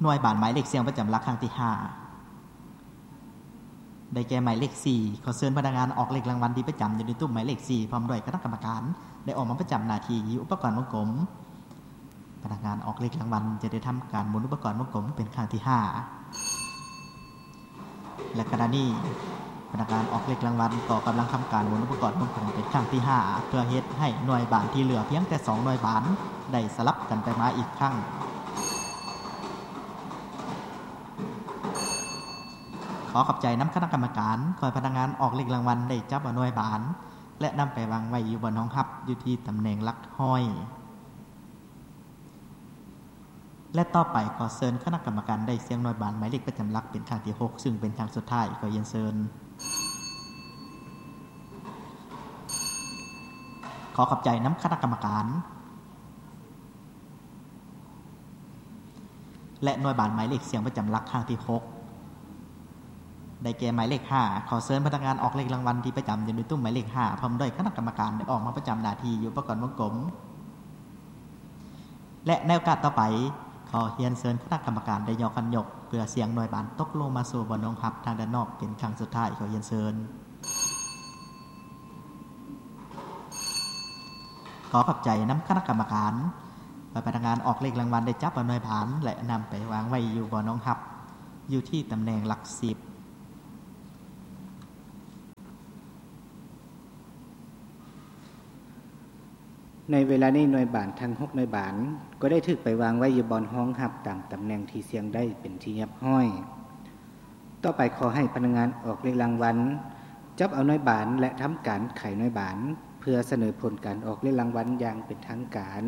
ໜ່ວຍບານໝາຍເລກສ່ຽງປະຈຳຫຼັກຄັ້ງທີຫ້າ ໄດ້ແກ່ໝາຍເລກສີ່. ຂໍເຊີນພະນັກງານອອກເລກລາງວັນທີ່ປະຈຳຢູ່ໃນຕຸ້ມໝາຍເລກສີ່ ພ້ອມດ້ວຍຄະນະກຳມະການ ໄດ້ອອກມາປະຈຳໜ້າທີ່ຢູ່ອຸປະກອນວົງກົມ. ພະນັກງານອອກເລກລາງວັນຈະໄດ້ທຳການໝູນອຸປະກອນວົງກົມເປັນຄັ້ງທີຫ້າ ແລະ ຂະນະນີ້ ພະນັກງານອອກເລກລາງວັນກໍກຳລັງທຳການໝູນອຸປະກອນວົງກົມເປັນຄັ້ງທີຫ້າ ເພື່ອເຮັດໃຫ້ໜ່ວຍບານທີ່ເຫຼືອພຽງແຕ່ສອງໜ່ວຍບານໄດ້ສະຫຼັບກັນໄປມາອີກຄັ້ງ. ຂໍຂອບໃຈນຳຄະນະກຳມະການ. ຂໍໃຫ້ພະນັກງານອອກເລກລາງວັນໄດ້ຈັບເອົາໜ່ວຍບານ ແລະ ນຳໄປວາງໄວ້ຢູ່ບ່ອນຮອງຮັບ ຢູ່ທີ່ຕຳແໜ່ງຫຼັກຮ້ອຍ. ແລະ ຕໍ່ໄປ ຂໍເຊີນຄະນະກຳມະການໄດ້ສ່ຽງໜ່ວຍບານໝາຍເລກປະຈຳຫຼັກເປັນຄັ້ງທີຫົກ ຊຶ່ງເປັນຄັ້ງສຸດທ້າຍ. ຂໍຮຽນເຊີນ. ຂໍຂອບໃຈນຳຄະນະກຳມະການ. ແລະ ໜ່ວຍບານໝາຍເລກສ່ຽງປະຈຳຫຼັກຄັ້ງທີຫົກ ໄດ້ແກ່ໝາຍເລກຫ້າ. ຂໍເຊີນພະນັກງານອອກເລກລາງວັນທີ່ປະຈຳຢູ່ໃນຕຸ້ມໝາຍເລກຫ້າ ພ້ອມດ້ວຍຄະນະກຳມະການ ໄດ້ອອກມາປະຈຳໜ້າທີ່ຢູ່ອຸປະກອນວົງກົມ. ແລະ ໃນໂອກາດຕໍ່ໄປ, ຂໍຮຽນເຊີນຄະນະກຳມະການໄດ້ຍໍຄັນຍົກ ເພື່ອສ່ຽງໜ່ວຍບານຕົກລົງມາສູ່ບ່ອນຮອງຮັບທາງດ້ານນອກເປັນຄັ້ງສຸດທ້າຍ. ຂໍຮຽນເຊີນ. ຂໍຂອບໃຈນຳຄະນະກຳມະການ. ໃຫ້ພະນັກງານອອກເລກລາງວັນໄດ້ຈັບເອົາໜ່ວຍບານ ແລະ ນຳໄປວາງໄວ້ຢູ່ບ່ອນຮອງຮັບ ຢູ່ທີ່ຕຳແໜ່ງຫຼັກສິບ. ໃນເວລານີ້ໜ່ວຍບານທັງຫົກໜ່ວຍບານ ກໍໄດ້ຖືກໄປວາງໄວ້ຢູ່ບ່ອນຮອງຮັບຕາມຕຳແໜ່ງທີ່ສ່ຽງໄດ້ເປັນທີ່ຮຽບຮ້ອຍ. ຕໍ່ໄປຂໍໃຫ້ພະນັກງານອອກເລກລາງວັນ ຈັບເອົາໜ່ວຍບານ ແລະ ທຳການໄຂໜ່ວຍບານ ເພື່ອສະເໜີຜົນການອອກເລກລາງວັນຢ່າງເປັນທາງການ.